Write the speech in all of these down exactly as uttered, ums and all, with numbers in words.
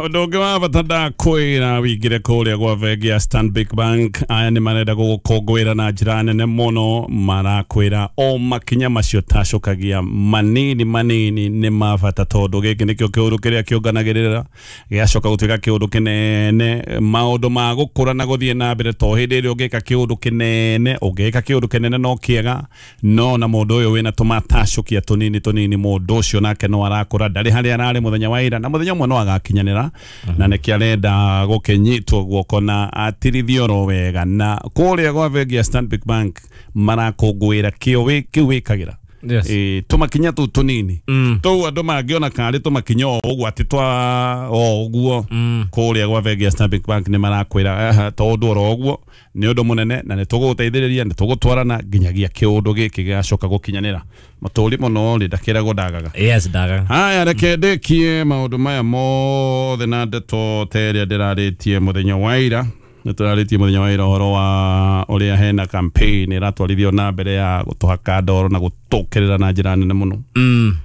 Ũndũ ũngĩ wa bata ndakwĩra wĩingĩre kũrĩa gwa bengi ya Stanbic Bank. Aya nĩ marenda gũgũkũngũĩra na njĩra nene mũno, marakwĩra o makinya macio tacũkagia manini manini nĩ ma bata, tondũ gĩkĩ nĩkĩo kĩũndũ kĩrĩa kĩũnganagĩrĩra gĩgacoka gũtuĩka kĩũndũ kĩnene. Maũndũ ma gũkũra na gũthiĩ na mbere, to hĩndĩ ĩrĩa ũngĩka kĩũndũ kĩnene, ũngĩka kĩũndũ kĩnene no kĩega, no na mũndũ ũyũ wĩna tũmatacũkia tũnini tũnini, mũndũ ũcio nake no arakũra, ndarĩ harĩa ararĩ mũthenya wa ira, na mũthenya ũmwe no agakinyanĩra, na nĩkĩo arenda gũkĩnyitwo guoko na atirithio oro wega. Na kũrĩa gwa bengi ya Stanbic Bank marakũngũĩra kĩo wĩ- kĩu wĩkagĩra. Yes. Ĩ, tũmakinya tũu tũnini Mm. tũu andũ mangĩona karĩ tũmakinya o ũguo atĩ twa o ũguo, Mm. kũrĩa gwa bengi ya Stanbic Bank nĩ marakwĩra aha, to ũndũ oro ũguo nĩ ũndũ mũnene, na nĩ tũgũgũteithĩrĩria, nĩ tũgũtwarana nginyagia kĩũndũ gĩkĩ gĩgacoka gũkinyanĩra. Mũtũri mũno rĩ, ndakĩragwo ndagaga. Yes, ndaga. Haya, reke ndĩkie maũndũ maya mothe na ndeto ta ĩrĩa ndĩrarĩtie mũthenya wa ira. Nĩ tũrarĩtie mũthenya wa ira ũhoro wa ũrĩa hena campaign ĩratwarithio na mbere ya gũtũhaka ndoro na gũtũkĩrĩra na njĩra nene mũno. Mm.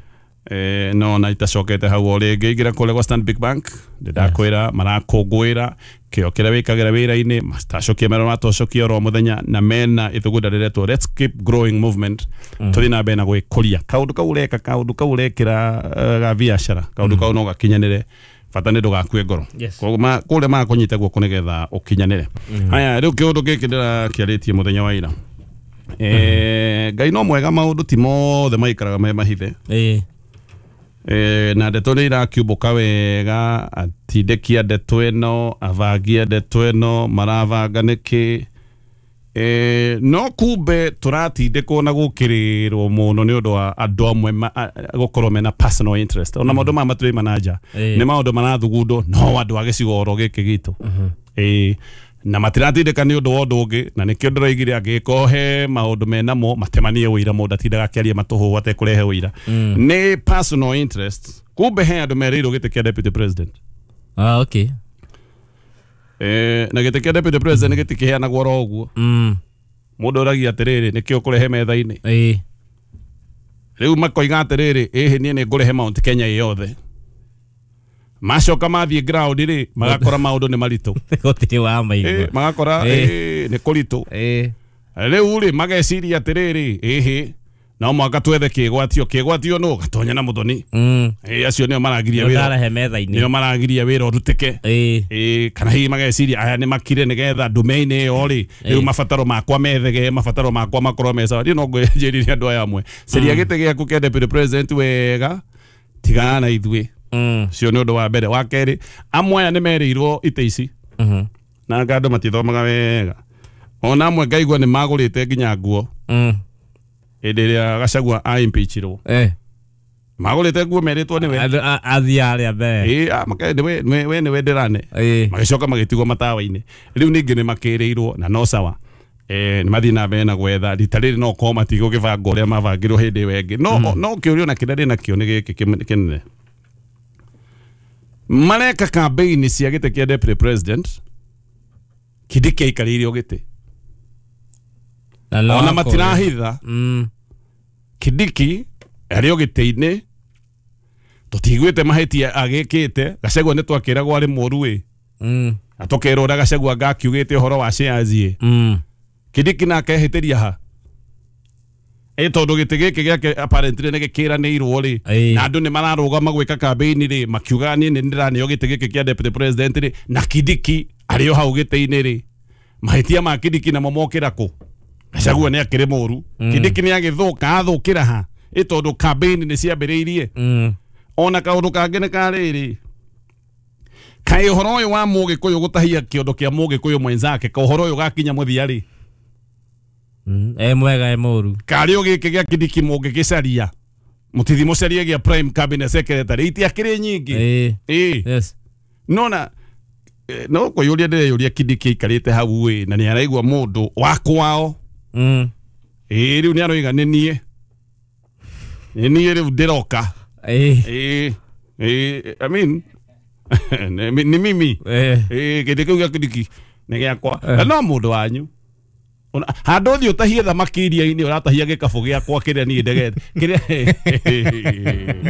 Eh, no na itacokete hau o rĩngĩ, ingĩra kũrĩa gwa Stanbic Bank, ndĩrakwĩra marakũngũĩra kĩo kĩrĩa wĩkagĩra wĩra-inĩ, matacokia marĩa matũcokia oro mũthenya, na mena ithugunda rĩretwo Let's Keep Growing Movement, tũthiĩ na mbere na gwĩkũria kaũndũ kau ũreka, kaũndũ kau ũrekĩra eh, ga biacara, kaũndũ kau no gakinyanĩre, bata nĩ ndũgakue ngoro. Yes. Koguo ma- kũrĩa makũnyita guoko nĩgetha ũkinyanĩre. Haya, rĩu kĩũndũ gĩkĩ ndĩrakĩarĩtie mũthenya wa ira. Eh, Ngai no mwega, maũndũ ti mothe maikaraga me mahithe. Ĩĩ. Eh, na ndeto nĩ irakiumbũka wega, atindĩkia ndeto ĩno, abangia ndeto ĩno, marabanga nĩkĩ. Eh, no kumbe tũratindĩkwo na gũkĩrĩrwo mũno nĩ ũndũ wa andũ amwe ma- a- a- gũkorwo mena personal interest, ona maũndũ maya matũraima na nja Ĩĩ. nĩ maũndũ marathugundwo no andũ a gĩcigo oro gĩkĩ gitũ. Ĩĩ, na matiratindĩka nĩ ũndũ wa ũndũ ũngĩ, na nĩkĩo ndĩroigire angĩkorwo he maũndũ menamo matemanie ũira, mũndũ atindaga akĩaria matũhũhũ atekũrehe ũira, nĩ personal interest. Kumbe he andũ merĩirwo gĩtĩ kĩa deputy president. Ah, okay. Eh, na gĩtĩ kĩa deputy president gĩtĩ kĩheanagwo oro ũguo. Mm. Mũndũ oragia atĩrĩrĩ, nĩkĩo ũkũrehe metha-inĩ? Ĩĩ. Rĩu makoiga atĩrĩrĩ, ĩhĩ, niĩ nĩ ngũrehe Mount Kenya ĩ yothe. Macoka mathiĩ ground rĩ, magakora maũndũ nĩ maritũ. Gũtirĩ wa Ĩ, maigua. magakora Ĩ. ĩ, nĩ kũritũ. Ĩĩ. Rĩu rĩ, mageciria atĩrĩrĩ, ĩhĩ, no mwaka twethe kĩgwatio. Kĩgwatio nũ? Gatonya na Mũthoni. Mm. Ĩ, acio nĩo maragiria wĩra, Ndarahe metha-inĩ. nĩo maragiria wĩra ũrutĩke. Ĩĩ. Ĩ, kana hihi mageciria aya nĩ makire nĩgetha ndume-inĩ ĩyo rĩ, rĩu mabataro makwa methege, mabataro makwa makorwo me sawa. Niĩ no ngwĩrire andũ aya amwe, caria gĩtĩ gĩaku kĩa deputy president wega, tigana na ithuĩ. Mm. Cio nĩ ũndũ wa mbere. Wa kerĩ, amwe aya nĩ merĩirwo itĩ ici, Mhm. na anga andũ matithomaga wega, ona amwe ngaigua nĩ magũrĩte nginya nguo Mm. hĩndĩ ĩrĩa Gachagua a impeachirwo. Eh. Magũrĩte nguo merĩtwo nĩwe. Andũ a- athiĩ arĩa mbere. Ĩ, ah, maka- nĩwe nĩwe- we nĩwe ndĩrane. Ĩĩ. Magĩcoka magĩtigwo matawa-inĩ. Rĩu ningĩ nĩ makĩrĩirwo, na no sawa. Eh, nĩ mathiĩ na mbere na gwetha rita rĩrĩ, no korwo matigũgĩbanga ũrĩa mabangirwo hĩndĩ ĩyo ĩngĩ, no no kĩũria ona kĩrĩa ndĩ nakĩo nĩ gĩkĩ kĩm- kĩnene: mareka campaign cia gĩtĩ kĩa deputy president, Kindiki aikarĩire o gĩtĩ. Na no Ona akorwo- matirahitha. Mm. Kindiki arĩ o gĩtĩ-inĩ, tũtiguĩte mahĩtia agĩkĩte. Gachagua nĩ twakĩragwo arĩ mũru ĩ, Mm. na tũkerwo ũrĩa Gachagua ngakiugĩte ũhoro wa shares ĩ. Mm. Kindiki nake ehĩtĩria ha ĩ, tondũ gĩtĩ gĩkĩ gĩake apparently nĩ gĩkĩranĩirwo rĩ, Ĩĩ. na andũ nĩ mararũgama gwĩka campaign rĩ, makiugaga niĩ nĩ ndĩraneo gĩtĩ gĩkĩ kĩa deputy president rĩ, na Kindiki arĩ o hau gĩtĩ-inĩ rĩ, mahĩtia ma Kindiki namo mokĩra kũ? Gachagua nĩ akĩrĩ mũru, Kindiki nĩ agĩthũka, athũkĩra ha ĩ, tondũ campaign nĩ ciambĩrĩirie? Mm. Ona kaũndũ kangĩ nĩ karĩrĩ, kaĩ ũhoro ũyũ wa mũgĩkũyũ gũtahia kĩondo kĩa mũgĩkũyũ mwenzake, ka ũhoro ũyũ gakinya mũthia rĩ? Mm. E mwega e mũru. Karĩ o gĩkĩ gĩa Kindiki mũngĩgĩcaria, mũtithi mũcarie gĩa prime cabinet secretary, itiakĩrĩ nyingĩ. Ĩĩ. Ĩ. Yes. Nona eh, no kwĩyũria ndĩreyũria, Kindiki aikarĩte hau ĩ, na nĩ araigua mũndũ wa kwao Mm. ĩ, rĩu nĩ aroiga nĩ niĩ, nĩ niĩ rĩu ndĩroka. Ĩĩ. Ĩ ĩ, I mean, nĩ nĩ mimi. Eh. Ĩ, gĩtĩ kĩu gĩa Kindiki nĩ gĩakwa, na no mũndũ wanyu. Handå thiä å tahie thamaki iria-inä å ratahia gä kabå gä akwa kä rä a niä ndegete.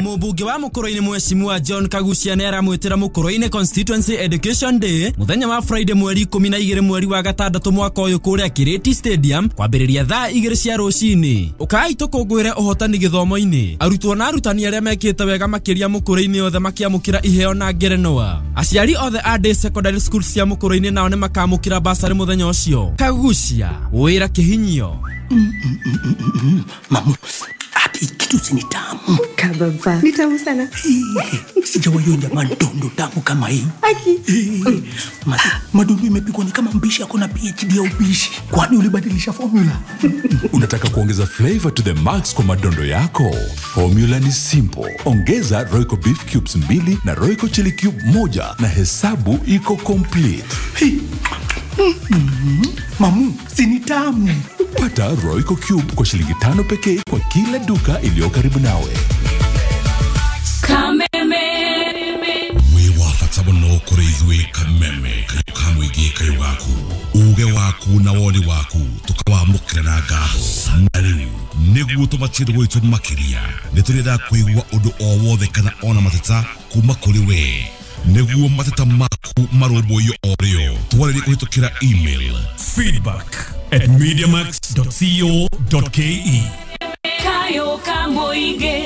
Mũmbunge wa Mũkũrũ-inĩ Mheshimiwa John Kagucia nĩ aramwĩtĩra Mũkũrũ-inĩ Constituency Education Day mũthenya wa Friday mweri ikũmi na igĩrĩ mweri wa gatandatũ mwaka ũyũ kũrĩa Kiriti Stadium kwambĩrĩria thaa igĩrĩ cia rũcinĩ. Ũkai tũkũngũĩre ũhotani gĩthomo-inĩ. Arutwo na arutani arĩa mekĩte wega makĩria Mũkũrũ-inĩ othe makĩamũkĩra iheo na ngerenwa. Aciari othe a day secondary school cia Mũkũrũ-inĩ nao nĩ makamũkĩra basarĩ mũthenya ũcio. Kagucia wĩra kĩhinyio. Mm, mm, mm, mm, mm. Mamu, ati kitu si ni tamu. Kababa. Ni tamu sana. Sijawahi onja madondo tamu kama hii. Aki. Ma, madondo imepikwa ni kama mbishi ako na P H D ya upishi. Kwani ulibadilisha formula? Unataka kuongeza flavor to the max kwa madondo yako? Formula ni simple. Ongeza Royco beef cubes mbili na Royco chili cube moja na hesabu iko complete. Hey. Mm-hmm. Mamu, si ni tamu. Pata Royco Cube kwa shilingi tano pekee kwa kila duka iliyo karibu nawe. Kameme. We wa muno kuri ithuĩ kameme kamũingĩ kayũ gaku uge waku na woni waku tukawamũkĩra na ngatho na rĩu nĩguo tũmatie gwitũ makĩria nĩ tũrenda kũigua ũndũ o wothe kana ona mateta kuma kũrĩ we nĩguo mateta maku marũmbũiyo o rĩo twarĩrie kũhĩtũkĩra email feedback at mediamax dot co dot ke. Kayo kamũingĩ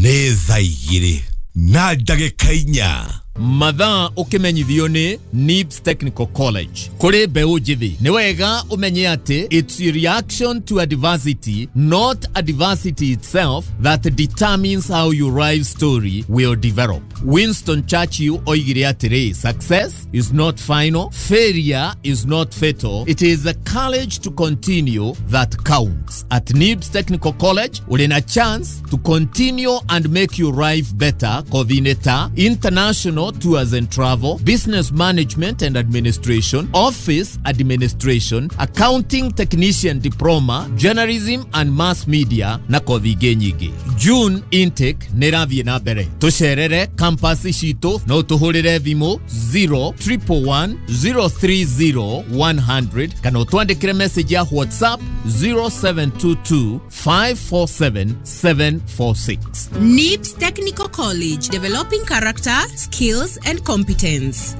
nĩ thaa igĩrĩ na ndagĩka inya. Mathaa ukimenyithio ni Nibs Technical College kuri mbeũ njithi ni wega umenye ati it's a reaction to adversity, not adversity itself, that determines how your life story will develop. Winston Churchill oigire atiri, success is not final, failure is not fatal, it is the courage to continue that counts. At Nibs Technical College uri na chance to continue and make your life better. Coordinator international tours and travel, business management and administration, office administration, accounting technician diploma, journalism and mass media na kothi ingĩ nyingĩ. June intake nĩ ĩrathiĩ na mbere. Tũcerere campus citũ no tũhũrĩre thimũ zero triple one zero three zero one hundred kana ũtwandĩkĩre message ya WhatsApp zero seven two two five four seven seven four six. Nibs Technical College, developing character, skills and competence.